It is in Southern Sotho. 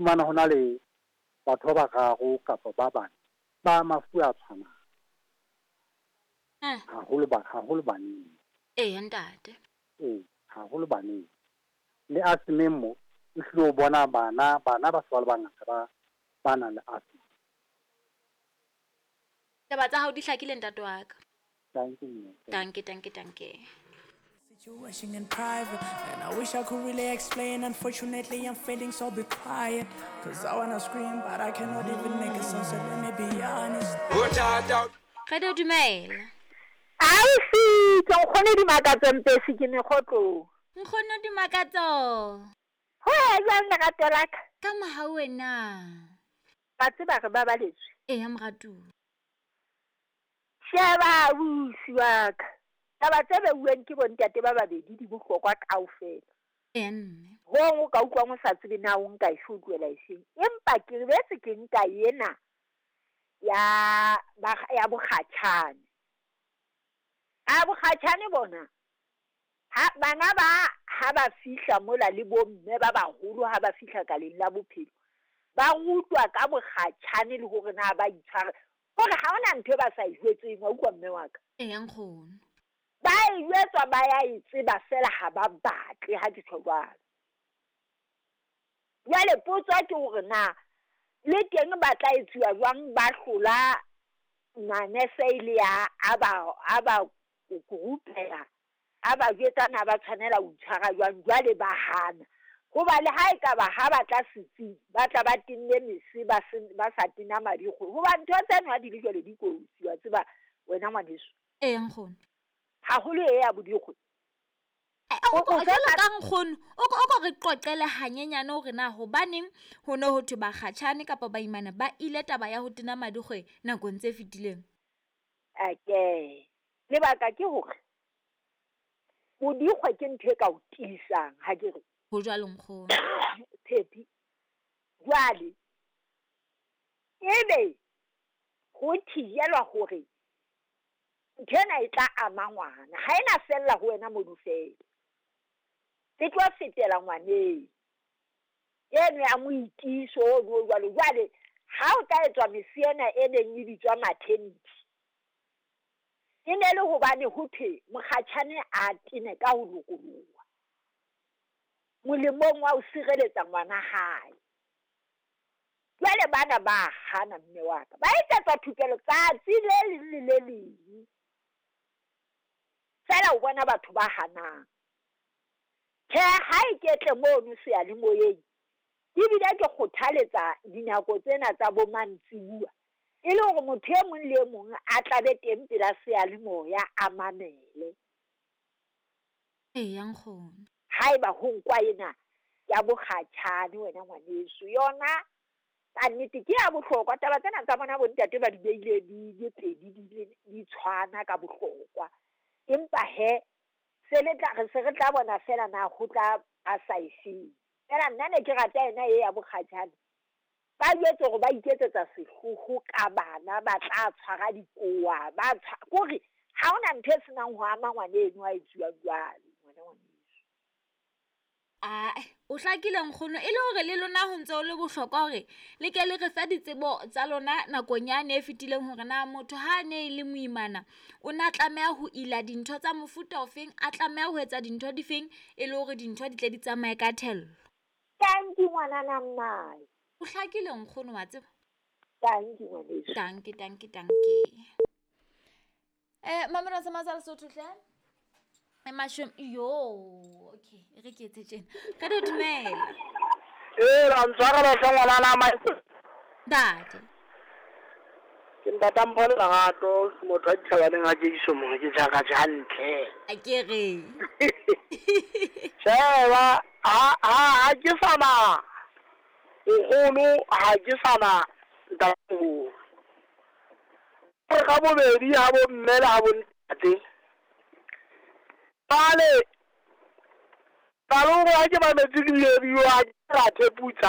fumana ho na le batho ba bararo kapa ba bane ba mafu a tshwanang. Haholo ba haholo baneng. Eya ntate. Ee, haholo baneng. Le asthmeng mo, o hlile o bona bana, bana ba se ba le bangata ba ba nang le asthma. Taba tsa hao di hlakile ntate wa ka. Danke mme. Danke, danke, danke. Situation in private, and I wish I could really explain. Unfortunately, I'm failing, so be quiet. Cause I wanna scream, but I cannot even make a sound, so let me be honest. Radio dumela. Ausi, ke nkgono Dimakatso Mpesi ke mekgotlong. Nkgono Dimakatso. Ho ya jwang lerato la ka? Ka mohau wena. Wa tseba re babaletswe. Eya moratuwa. Sheba ausi wa ka, taba tse beuweng ke bontate ba babedi di bohlokwa kaofela. Eya mme. Hong o ka utlwang o sa tsebe na o nka efe o tlohela efeng. Empa ke boetse ke nka ena ya ya bokgatjhane. A bokgatjhane bona ha bana ba ha ba fihla mola le bomme ba baholo ha ba fihla kaleng la bophelo, ba rutwa ka bokgatjhane le hore na ba itshware. Hore ha hona ntho e ba sa e jwetseng, wa utlwa mme wa ka. Eya nkgono. Ba e jwetswa ba ya e tseba fela ha ba batle ha ke tjho jwalo. Jwale potso ke hore na le teng ba tla etsuwa jwang ba hlola manese e le ya a ba rupela, a ba jwetsa na ba tshwanela ho itshwara jwang, jwale ba hana. Hoba le ha ekaba ha ba tla setsing, ba tla ba tenne mese ba sa tena madikgwe. Hoba ntho tseno ha di le jwale di kotsi, wa tseba wena ngwaneso. Eya nkgono. Haholo e ya bodikgwe. Jwalo ka nkgono, o ko re qoqele hanyenyane hore na hobaneng ho ne ho thwe bakgatjhane kapa baimana ba ile taba ya ho tena madikgwe nakong tse fetileng. Ake, lebaka ke hore bodikgwe ke ntho e ka o tiisang, ha ke re. Ho jwalo nkgono. Tshepi. Jwale ebe ho thijelwa hore ntho ena e tla ama ngwana, ha ena fella ho wena mono fela. E tlo fetela ngwaneng. Eno ya moitiso ono o jwalo. Jwale ha o ka etswa mese ena e neng e bitswa maternity, e ne le hobane ho thwe mokgatjhane a tene ka ho lokoloha molemong wa ho sireletsa ngwana hae. Jwale bana ba hana mme wa ka, ba etsetswa thupelo tsatsi le leng le le leng. Fela o bona batho ba hanang. Tjhe, ha e ketle mono seyalemoyeng, ebile ke kgothaletsa dinako tsena tsa bo mantsibuya, e le hore motho e mong le e mong a tlabe teng pela seyalemoya a mamele. Eya nkgono. Haeba ho nkwa ena ya bokgatjhane wena ngwaneso, yona ka nnete ke ya bohlokwa. Taba tsena tsa bona bontate ba di beile di le pedi di tshwana ka bohlokwa. Empa he se le tla re se re tla bona fela na ho tla a sa efeng. Fela nna ne ke rata ena e ya bokgatjhane. Ba jwetse hore ba iketsetsa sehloho ka bana ba tla tshwara dikowa, ba kore ha hona ntho e senang ho ama ngwana eno a etsuwang jwalo, ngwana ngwaneso. Ae, o hlakile nkgono, e le hore le lona ho ntse ho le bohlokwa hore le ke le re fe ditsebo tsa lona nakong yane e fetileng hore na motho ha a ne e le moimana o na tlameha ho ila dintho tsa mofuta ofeng, a tlameha ho etsa dintho difeng e le hore dintho di tle di tsamaye ka thello. Tanki ngwanana mmae. O hlakile nkgono, wa tseba. Tanki ngwaneso. Tanki, tanki, tanki. Mamela sa matsa Lesotho hle. Mashome yo, okay, re ke etse tjena. Re di dumela. Ee, ra ntshwarela hle ngwanana Michael. Ntate. Ke ntata Mpho Lerato, motho wa dithabaneng a Jesu mong ke jaka hantle. A ke re. Sheba, ha ke sana nkgono, ha ke sana ntatemoholo. Re ka bobedi ha bo mme le ha bo ntate. Jwale, qalong ha ke mametse di-radio, ha ke ra theputsa.